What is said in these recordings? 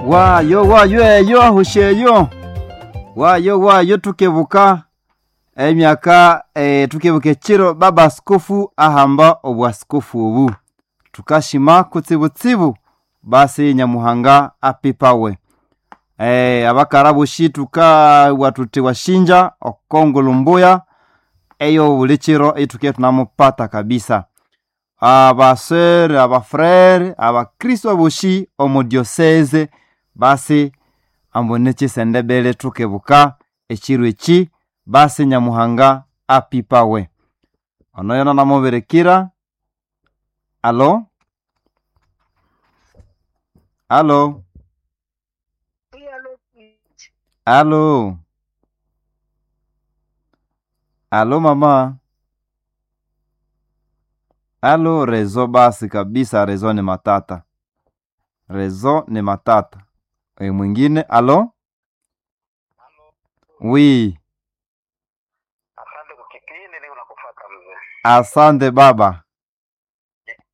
Wayo wayo eyo ahusha eyo wayo wayo tukebuka emyaka tukebuka ekiro baba askofu ahamba obwaskofu obu tukashima kutsibutsibu basi Nyamuhanga apipawe. Abakara boshi tukabugha tuthi washinja okongolo mbuya eyo buli kiro eituke tunamupata kabisa. Abasere, abafrere, abakristo aboshi omu diocese basi ambu nikisendebele tukebuka ekiro eki basi Nyamuhanga apipawe. Ono yona namubirikira. Alo? Alo? Alo? Alo mama? Alo rezo basi kabisa, rezo ni matata. Rezo ni matata. E, mwingine alo? Wi, Asante kwa kipindi, niko nakufuata mzee. asante baba.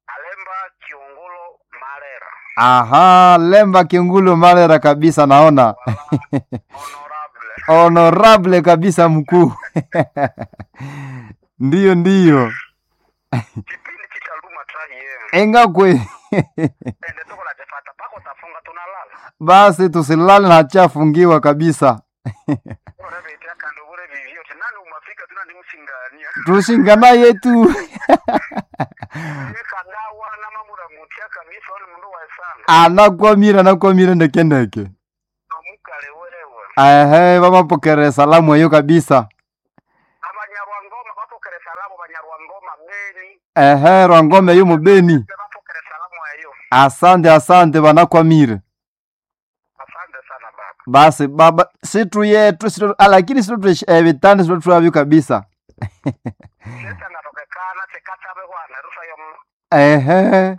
Alemba Kiungulo Marera. Aha, Lemba Kiungulu Malera kabisa naona. Honorable. Honorable kabisa mkuu. Ndiyo ndiyo. Kipindi chitaluma trahi Engakwe. Ende tuko la tefata pako tafunga tunalala. Basi tusilale na hachafungiwa kabisa. Urebetea kando bure vivyo nani umafika tuna ni msingania. Tushingana yetu. Yeka dawa na mamura mutia kabisa wale mndu wa sana. Anakwamira anakwamira ndeke ndeke. Amukale wewe. Ehe, bamapokere salamu eyo kabisa. Abanyarwangoma bapokere salamu Banyarwangoma Beni. Ehe, Rwangome yu mubeni. Bapokere salamu eyo. Asante asante banakwamire. Asante sana baba. Basi baba situ yetu situ, lakini situ ebitanda situ twabyo kabisa. Sasa ngatokekana chekatabe bwana rusa yo. Ehe.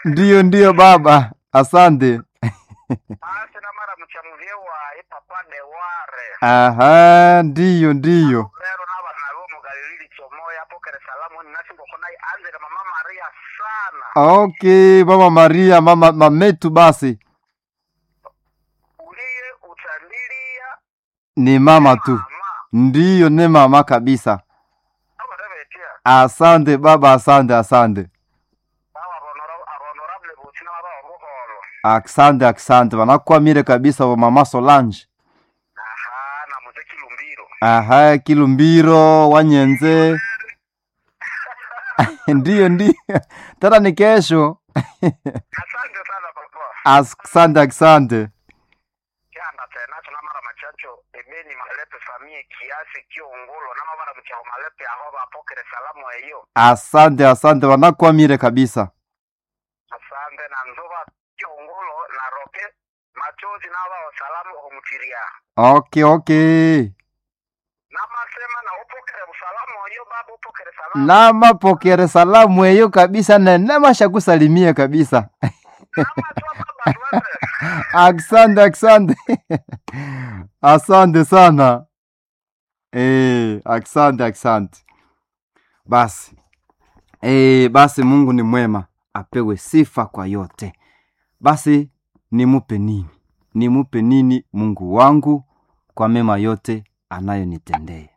Ndiyo ndiyo baba, asante. Basi na mara mchamuvye wa ipapa de ware. Aha, ndiyo ndiyo. Lero n'abana bo mu Galilili chomoya apokere salamu nasingoko naye anzire mama Maria sana. Okay, mama Maria, mama mametu basi Uliye utandilia ni mama tu. mama. Ndiyo ni mama kabisa. Abatebetia. Asante baba, asante asante. Awa honorable butina baba obuholo. Asante asante, wanakwamire kabisa wa mama Solange. Aha, na muze Kilumbiro. Aha, Kilumbiro Wanyenze. Ndiyo ndiyo, tena ni kesho. Asante sana papa. Asante asante. Kyanda tena na mara machacho ebeni malepe famie kiasi kiongolo na mara mchao malepe aho bapokere salamu eyo. Asante asante, wanakwamire kabisa. Asante na nzoba kiongolo na roke machozi n'abao salamu omutiria. Okay okay. Namasema na upokere usalamu oyo baba upokere salamu. Namapokere salamu eyo kabisa na namashakusalimia kabisa. Namatwa baba twende. Asante asante. Asante sana. Asante asante. Basi. Basi Mungu ni mwema, apewe sifa kwa yote. Basi nimupe nini? Nimupe nini Mungu wangu kwa mema yote anayonitendea?